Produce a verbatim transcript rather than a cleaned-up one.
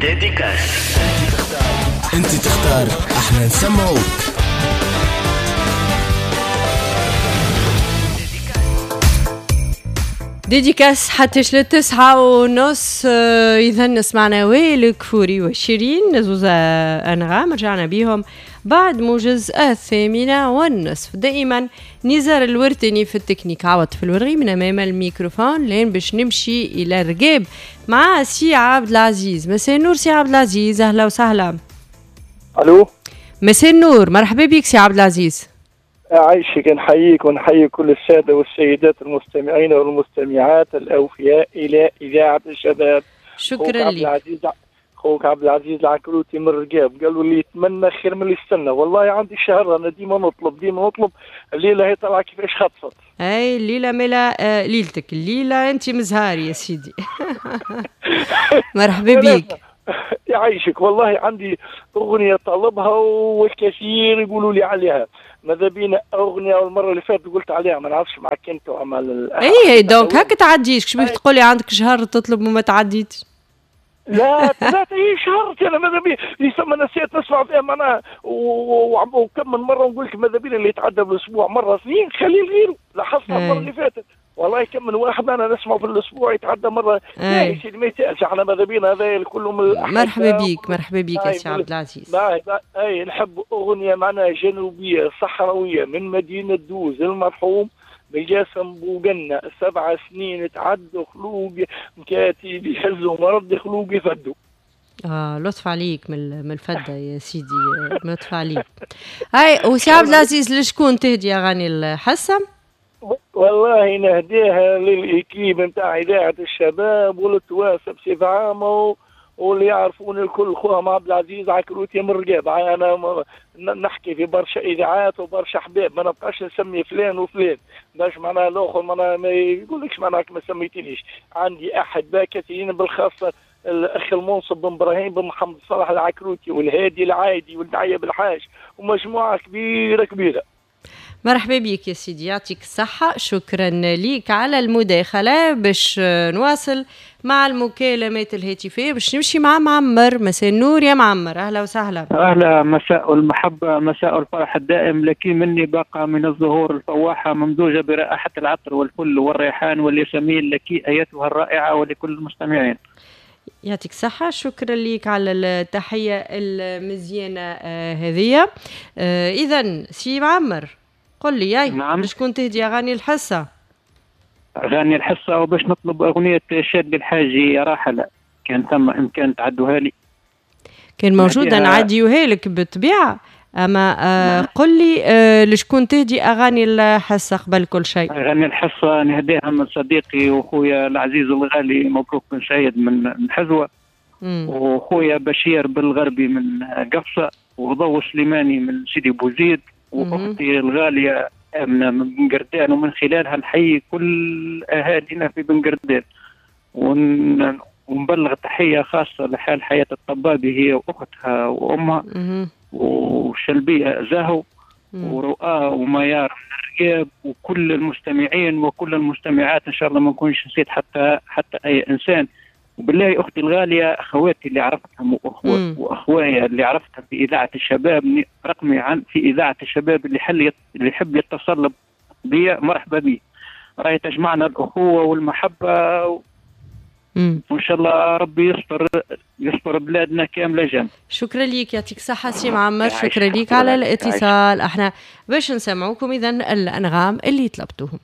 dédicace. انت تختار، احنا نسمعوك. dédicace حتى للتسعة ونص. إذا سمعنا وائل كفوري وشيرين زوزة أنغام، رجعنا بيهم بعد موجز الثامنة والنصف. دائما نزار الورتني في التكنيك، عوض في الورغي من أمام الميكروفون لين باش نمشي إلى الرقاب مع سي عبد العزيز. مساء النور سي عبد العزيز، أهلا وسهلا. ألو، مساء النور، مرحبا بك سي عبد العزيز. عايشك، نحييك ونحيي كل السادة والسيدات المستمعين والمستمعات الأوفياء إلى إذاعة الشباب. شكرا لك. خوك عبد العزيز العكروتي من الرقاب، قالوا اللي يتمنى خير من اللي يستنى. والله عندي شهر أنا ديما نطلب ديما نطلب، الليلة هي طالعة كيفاش خطفت. أي الليلة ملا آه ليلتك، الليلة أنت مزهاري يا سيدي. مرحبا بك. يعيشك. والله عندي أغنية طلبها والكثير يقولوا لي عليها، ماذا بينا أغنية والمرة اللي فاتت قلت عليها ما نعرفش معك أنت وعمل. إيه donc هكا تعديش، كيفاش تقولي عندك شهر تطلب وما تعديتش؟ لا لا اي شهر انا ماذا بي يسمى نسيت نسمع فيها معناها، وكم من مرة نقول لك ماذا بينا اللي يتعدى بالاسبوع مرة اثنين خليه غيره. لاحظتها المرة اللي فاتت والله كم من واحد انا نسمعه في الاسبوع يتعدى مرة. لا يا سيدي ما يسالش، احنا ماذا بينا هذا كله من. مرحبا بيك، مرحبا بيك يا سي عبد العزيز. اي نحب اغنية معناها جنوبيه صحراويه من مدينة دوز المرحوم بالجاسم بوقنة، سبع سنين تعدوا خلوق مكاتب يهزوا مرض خلوق يفدوا. اه لطف عليك من الفدة يا سيدي، لطف عليك. هاي وسي عبد العزيز لشكون تهدي اغاني الحصة؟ والله نهديها لل équipe نتاع اذاعة الشباب وللتواسه بصفة عامة واللي يعرفون الكل، خوهم عبد العزيز عكروتي من الرقاب. انا نحكي في برشا اذاعات وبرشا احباب، ما نبقاش نسمي فلان وفلان باش معناها الاخر معناها ما يقولكش معناها ما سميتنيش. عندي احباء كثيرين بالخاصه الاخ المنصب بن ابراهيم بن محمد صلاح العكروتي والهادي العايدي والدعيه بالحاج ومجموعة كبيرة كبيرة. مرحبا بك يا سيدي، يعطيك الصحة، شكرا ليك على المداخلة. باش نواصل مع المكالمات الهاتفية باش نمشي مع معمر. مساء النور يا معمر، أهلا وسهلا. أهلا، مساء المحبة، مساء الفرح الدائم. لك مني باقة من الزهور الفواحة ممزوجة برائحة العطر والفل والريحان والياسمين، لك أيتها الرائعة ولكل المستمعين. يعطيك صحة، شكرا لك على التحية المزيانة هذه. إذا سي معمر قل لي ياي. نعم. شكون تهدي أغاني الحصة؟ أغاني الحصة وباش نطلب أغنية شادي الحاجي راحلة، كان ثم إمكان تعدوها لي. كان موجودة نعديوها لك بالطبيعة، أما آه قل لي آه لشكون تهدي أغاني الحصة قبل كل شيء؟ أغاني الحصة نهديها من صديقي وخويا العزيز الغالي مبروك بن سعيد من حزوة، وخويا بشير بالغربي من قفصة، وضو سليماني من سيدي بوزيد، واختي الغالية امنه من بنقردان، ومن خلالها نحيي كل اهالينا في بنقردان، ون... ونبلغ تحية خاصة لحال حياة الطبابي هي واختها وامها، وشلبيه زاهو ورؤى وميار من الرقاب، وكل المستمعين وكل المستمعات. ان شاء الله ما نكونش نسيت حتى حتى اي انسان. وبالله اختي الغالية، اخواتي اللي عرفتهم واخوة واخوايا اللي عرفتهم في اذاعة الشباب، رقمي عن في اذاعة الشباب اللي حل اللي يحب يتصل بي مرحبا بي. راهي تجمعنا الاخوة والمحبة و... وان شاء الله ربي يستر يستر بلادنا كاملة جنب. شكرا ليك، يعطيك الصحة سي معمر، شكرا ليك على الاتصال. احنا باش نسمعوكم اذا الانغام اللي طلبتوهم.